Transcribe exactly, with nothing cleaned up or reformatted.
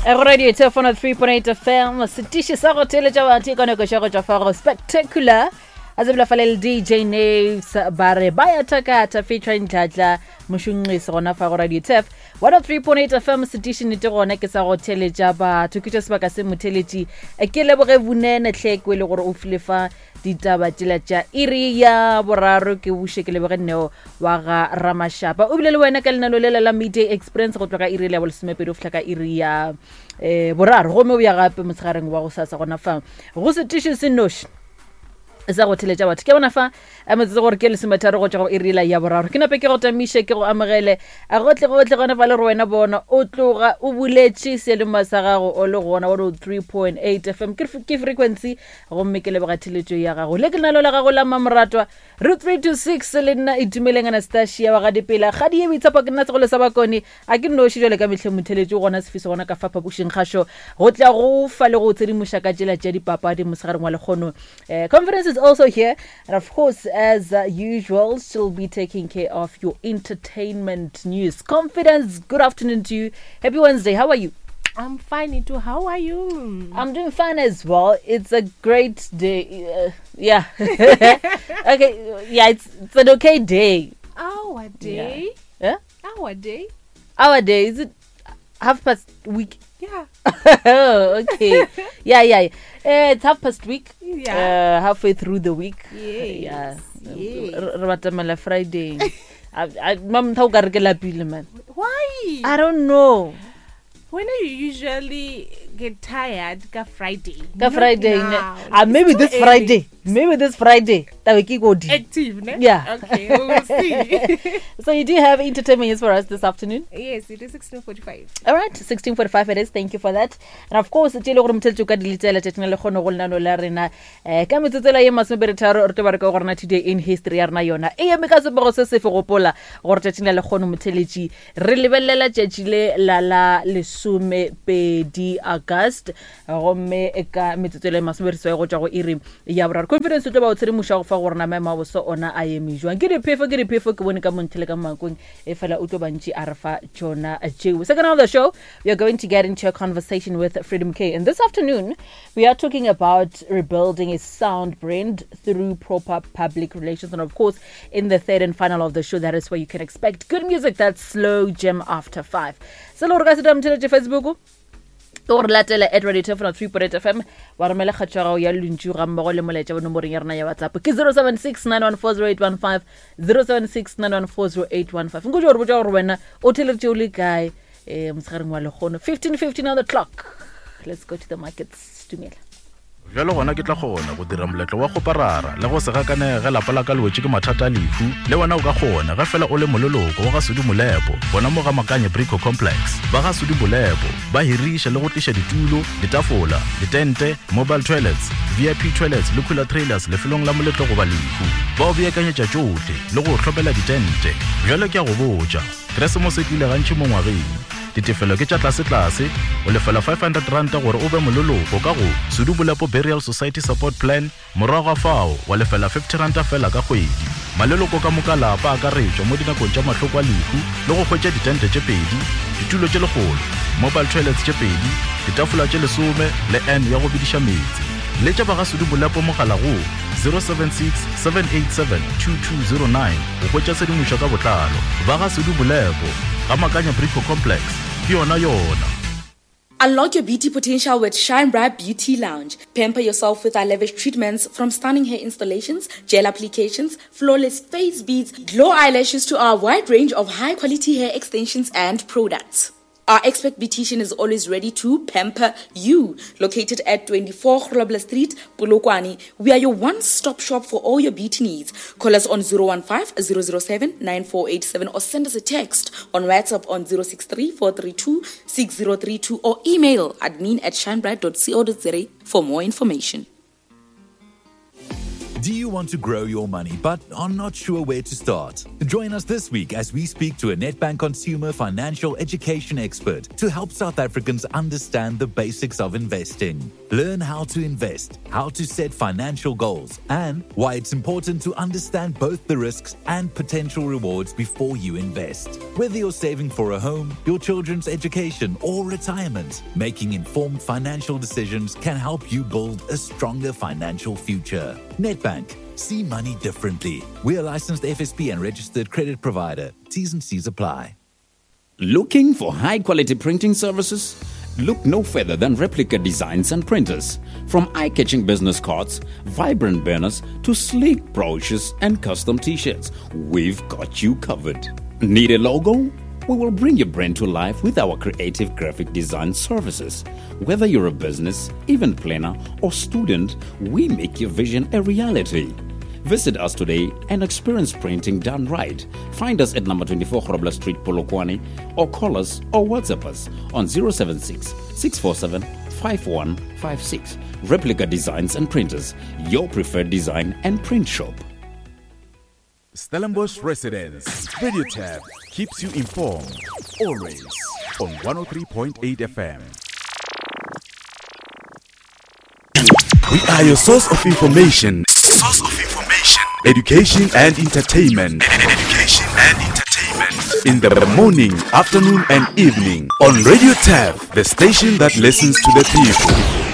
Go radio telefono three point eight F M, setiši sa go theeletša batho e kaneko go tšwa fa go Spectacular a tsebela fa le D J Naves ba re ba ya thakatha featuring Dladla Mošunqisi gona fa go radio tef one oh three point eight F M. Setiši nete gona ke sa go theeletša batho, ke tša sebaka se motheletši. Ke leboge Vunene tlheko e le gore o file fa ditaba tšela tša iri ya boraro. Ke buše ke leboge Neo wa ga Ramashapa, o bile le wena ka lenano lela la Midday Experience go tloga iri ya bolesomepedi go fihla ka iri ya um boraro, gomme o ya gape motshegareng wa go sasa gona fa go setiši se noši sa go theletša batho. Ke bona fa a metsotso gore ke lesometharo go tšwa go irila ya boraro. Ke nape ke go tamiše, ke go amogele a gotle gotle gona fa le gore wena bona o tloga o buletše seelema sa gago o le gona one oh three point eight F M ke ke frequency, gomme ke leboga theletšo ya gago le ke lenalo la gago la mamoratwa re three two six le nna Itumeleng Anastasia wa ga Dipela kgadi ye boitshepo, ke nna segolo sa bakone a ke noši jale ka metlhe motheletši gona sefiso gona ka fa phapošing kgašo go tla go fa le go tshedimoša ka tsela tša dipapadi mosegareng wa lekgono. uh, conference is also here, and of course, as uh, usual, she'll be taking care of your entertainment news. Confidence, good afternoon to you. Happy Wednesday. How are you? I'm fine, Itu. How are you? I'm doing fine as well. It's a great day. Uh, yeah. Okay. Yeah, it's, it's an okay day. Our day. Yeah? Our day. Our day. Is it half past week? Yeah. Oh, okay. yeah, yeah. Uh, it's half past week. Yeah. Uh, halfway through the week. Yes. Yeah. Yes. Re batamela Friday. I- I- Mam tha o ka re ke lapile, man. Why? I don't know. When do you usually get tired? Ka Friday. Ka Not Friday. Ne? now. Ah, It's maybe too this early. Friday. Maybe this Friday. Tabe ke godi. Active, ne? Yeah. Okay, we will see. So you do have entertainment news for us this afternoon? Yes, it is sixteen forty-five. All right, sixteen forty-five it is. Thank you for that. And of course, tše le gore motheletši o ka di letela tšatšing la lekgono go lenano la rena um ka metsotsela ye masomepedi-tharo re tlo ba re ka go rena today in history ya rena yona e eme ka sebego se sefe. Gopola gore tšatšing la lekgono motheletši re lebelela tšatši le la la lesomepedi August, gomme ka metsotso e le masomepedi go tšwa go iri ya boraro Confidence o tlo ba o tshedimoša go fa gore na maemo a boso ona a eme jwang. Ke diphefo, ke diphefo, ke bone ka montle ka makong e fela o tlo bantši a re fa tšona tšeo. Second of the show, we are going to get into a conversation with Freedom K, and this afternoon we are talking about rebuilding a sound brand through proper public relations. And of course, in the third and final of the show, that is where you can expect good music, that's slow jam after five. Se le gore ka se motheletše Facebook ke gore latela at radio telefono three point eight F M, wa romela kgatšo ya gago ya lentšu ga mmogo le molaetša bo nomoreng ya rena ya WhatsApp ke zero seven six nine one four zero eight one five, zero seven six nine one four zero eight one five. Nko gore botša gore wena o theleditše o le kae um motshegareng wa lekgono. fifteen fifteen on the clock. Let's go to the markets. Dumela. Bjalo gona ke tla kgona go dira moletlo wa kgoparara le go se gakanege lapa la ka le wetše ke mathata a lehu. Le wena o ka kgona ge fela o le moleloko wa ga Sudi Molepo gona mo ga Makanye Brico Complex. Ba ga Sudi Molepo ba hiriša le go tliša ditulo, ditafola, ditente, mobile toilets, V I P toilets le cooler trailers lefelong la moletlo goba lehu. Ba o beakanyetša tšohle le go hlopela ditente. Bjalo ke a go botša, Keresemose e tlile gantši mo ngwageng. Ditefelo ke tša tlasetlase, o lefela five hundred ranta gore o be moleloko ka go Sudu Bolepo Burial Society Support Plan. Morago ga fao wa lefela fifty ranta fela ka kgwedi. Maleloko ka moka lapa akaretšwa mo dinakong tša mahloko a lehu le go hwetša ditente tše pedi, ditulo tše lekgolo, mobile toilets tše pedi, ditafola tše lesome le n ya go bediša meetse. Letša ba ga Sudu Bolepo mogala go zero seven six seven eight seven two two zero nine go hwetša tshedimošo ka botlalo. Ba ga Sudu Bolepo ga Makanya Brico Complex ke yona yona. Unlock your beauty potential with Shine Bright Beauty Lounge. Pamper yourself with our lavish treatments, from stunning hair installations, gel applications, flawless face beads, glow eyelashes to our wide range of high quality hair extensions and products. Our expert beautician is always ready to pamper you. Located at twenty-four Grobler Street, Polokwane, we are your one-stop shop for all your beauty needs. Call us on zero one five zero zero seven nine four eight seven or send us a text on WhatsApp on zero six three four three two six zero three two or email admin at shinebright dot co dot za for more information. Do you want to grow your money but are not sure where to start? Join us this week as we speak to a Nedbank consumer financial education expert to help South Africans understand the basics of investing. Learn how to invest, how to set financial goals, and why it's important to understand both the risks and potential rewards before you invest. Whether you're saving for a home, your children's education, or retirement, making informed financial decisions can help you build a stronger financial future. Nedbank. See money differently. We are licensed F S P and registered credit provider. T's and C's apply. Looking for high quality printing services? Look no further than Replica Designs and Printers. From eye-catching business cards, vibrant banners, to sleek brochures and custom t-shirts, we've got you covered. Need a logo? We will bring your brand to life with our creative graphic design services. Whether you're a business, event planner, or student, we make your vision a reality. Visit us today and experience printing done right. Find us at number twenty-four Grobler Street, Polokwane, or call us or WhatsApp us on zero seven six, six four seven, five one five six. Replica Designs and Printers, your preferred design and print shop. Stellenbosch Residence Radio Tab keeps you informed always on one oh three point eight F M. We are your source of information. Source of information, education and entertainment. Education and entertainment. In the morning, afternoon and evening on Radio Tab, the station that listens to the people.